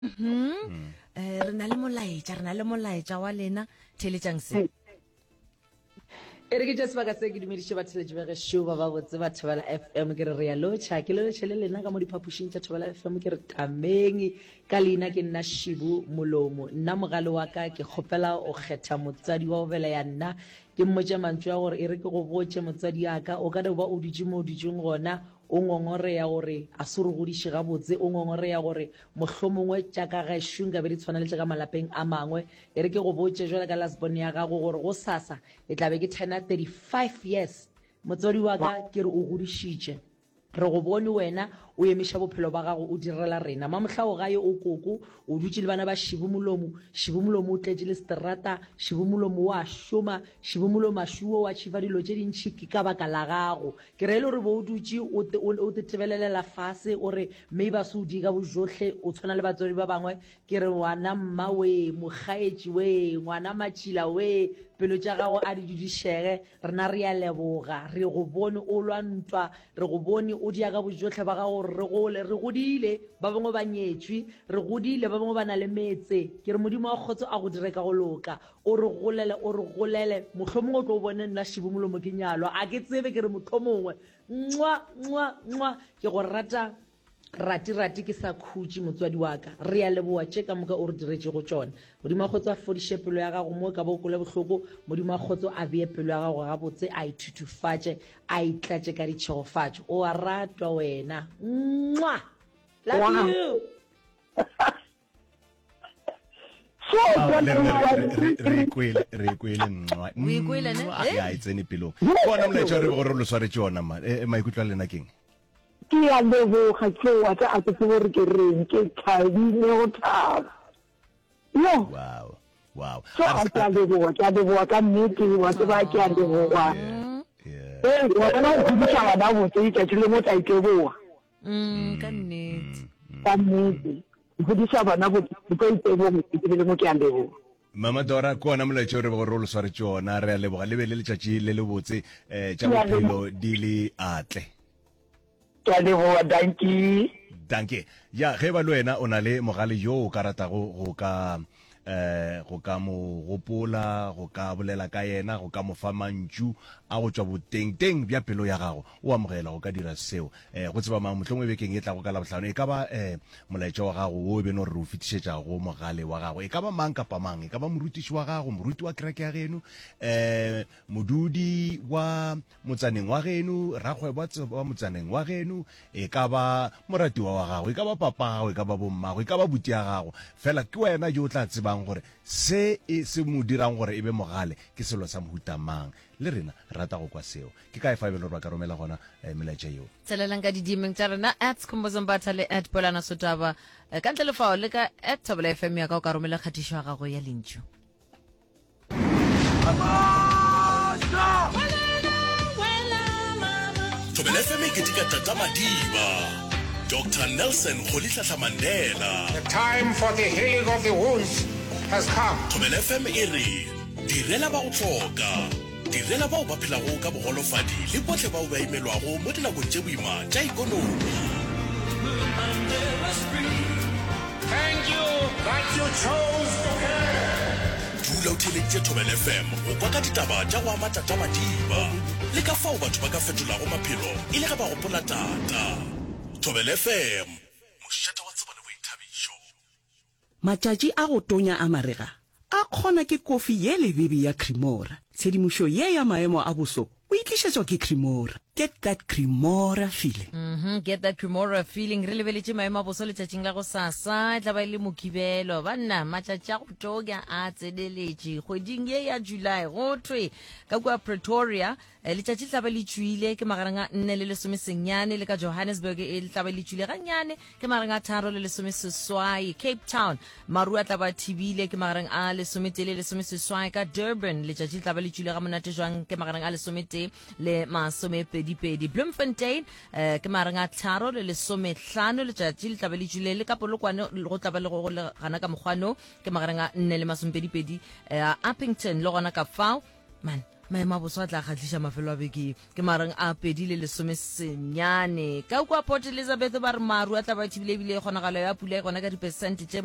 Mm. Eh, re na le molaetša, re na le molaetša wa lena. Theeletšang se. E re ke tše sebaka se ke dumediše batheletši ba gešo ba babotse ba Thobela FM ke re re ya lotšha ke le lotšhe le lena ka mo diphapošing tša Thobela FM ke re tameng ka leina ke nna Shibu Molomo nna mogale wa ka ke kgopela o kgetha motswadi wa go beleya nna ke mmotše mantšu a gore e re ke go botše motswadi ya ka o ka no ba o dutše mo o dutšeng gona o ngongoreya gore a se re godiše gabotse o ngongoreya gore mohlomongwe tša ka gešo nkabe di tshwana le tša ka malapeng a mangwe E re ke go botše jwale ka last born ya gago gore gosasa e tla be ke turna 35 years. Motswadi wa ka ke re o godišitše. Re go bone wena o emiša bophelo ba gago o direla rena. Mamohla o gae o koko, o dutše le bana ba Šibu Molomo. Šibu Molomo o tletše le seterata, Šibu Molomo o a šoma, Šibu Molomo a šuo o achieva dilo tše dintši ke ka baka la gago. Ke re e le gore bo o dutše o te, o, o te tebelelela fase o re maybe a se o die ka bojohle o tshwana le batswadi ba bangwe Ke re ngwana mma wee, mokgaetši wee, ngwana matšila wee, pelo tša gago a di dudišege. Rena re a leboga. Re go bone o lwa ntwa, re go bone o dia ka bojohle ba gago gore re gole. Re godile, ba bangwe ba nyetšwe. Re godile, ba bangwe ba na le metse. Ke re Modimo wa kgotso a go dire ka go loka. O re golele, o re golele. Mohlomongwe o tlo bone nna Šibomolomo ke nyalwa. A ke tsebe, ke re mohlomongwe. Nxwa, nxwa, nxwa. Ke go rata Rati rati ke sa khutše motswadi wa ka. Re a leboa tše ka moka o re diretšego tšona. Modimo wa kgotso a fodiše pelo ya gago mo e ka ba o kwele bohloko. Modimo wa kgotso a bee pelo ya gago gabotse, a e thuthufatše, a e tlatše ka ditšhegofatšo. O a ratwa wena. Mwah! Love Wow. you. So, Ao, le rena re- re- re- re ikwele re ikwele nxwa O ikwele, ne? Nxwa. Eh? ya e tsene pelong ke ona molaetša o re bego re lo swaretše ona ma Eh, eh, maikutlo a lena keng Ke a leboga tlo wa ka a ke tsebe gore ke reng ke thabile go thaba. Yo. Wow. Wow. So a ke a leboga, ke a leboga ka nnete, wa tseba ke a leboga. Yeah. Ee, wa bona go godisa bana botse letšatši lengwe o tla iteboga. Mm, ka nnete. Ka nnete. Go godisa bana botse o tlo iteboga letšatši le lengwe ke a leboga. Mama Dora, ke ona molaetša o re bego re o le swaretše ona. Re a leboga. Le be le letšatši le lebotse. Eh, tša bophelo di le atle. Ke a leboga, dankie. Dankie. Ya, ge e ba le wena o na le mogale yo o ka ratago go ka eh go ka mo gopola, go ka bolela ka yena, go ka mo fa mantšu a go tšwa botengteng bja pelo ya gago, o amogela go ka dira seo. Eh go tseba mang, mohlomongwe bekeng e tlago ka Labohlano e ka ba eh molaetša wa gago wo e be no re re o fetišetša go mogale wa gago. E ka ba mang kapa mang, e ka ba morutiši wa gago, moruti wa kereke ya geno, eh modudi wa motsaneng wa geno, rakgwebo wa motsaneng wa geno, e ka ba moratiwa wa gago, e ka ba papa gago, e ka ba bommago, e ka ba buti ya gago. Fela ke wena yo o tla tsebang gore se e se mo dirang gore e be mogale ke selo sa mohuta mang. Le rena re rata go kwa seo. Ke kae fa e be le gore ba ka romela gona eh, melaetša yeo? Tselelang ka di-DMeng tša rena at Skhumbuzo Mbatha le at Polana Sotaba. Eh, Ka ntle le fao le ka at Thobela FM ya ka o ka romela kgatišo ya gago ya lentšu. Thobela FM e keteka Tata Madiba, Doctor Nelson Rolihlahla Mandela. The time for the healing of the wounds has come. Thobela FM e re direla ba go hloka, direla bao ba phelago ka bogolofadi le bohle bao ba imelwago mo dinakong tše boima tša ikonomi. Thank you that you chose to care. Dula o theeleditše Thobela FM go kwa ka ditaba tša go ama Tata Madiba le ka fao batho ba ka fetolago maphelo e le ge ba gopola Tata. Thobela FM, mošate wa tsebo le boithabišo. Matšatši a go tonya a marega a kgona ke kofi ye lebebe ya Cremora. Tshedimošo ye ya maemo a boso o e tlišetšwa ke Cremora. Get that Cremora feeling. Mm-hmm, get that Cremora feeling. Re lebeletše maemo a boso letšatšing la gosasa, e tla ba e le Mokibelo. Banna, matšatši a go tonya a tseneletše. Kgweding ye ya July, go thwe ka kua Pretoria, eh, letšatši le tla ba le tšwile ke magareng a nne le lesomesenyane, le ka Johannesburg e le tla ba le tšwile gannyane ke magareng a tharo le lesomeseswai. Cape Town, maru a tla ba thibile ke magareng a lesometee le lesomeseswai. Ka Durban, letšatši le tla ba le tšwile ga monate jwang ke magareng a lesometee le masomepedipedi. Bloemfontein, eh, ke magareng a tharo le lesomehlano, letšatši le tla ba le tšwile le ka Polokwane go tla ba le go le gana ka mokgwano ke magareng a nne le masomepedipedi. Eh, Upington le gona ka fao, man. Maemo a boso a tla kgahliša mafelo a beke ke magareng a 20 le 19. Ka kua Port Elizabeth ba re maru a tla ba thibile ebile kgonagalo ya pula e gona ka diperesente tše.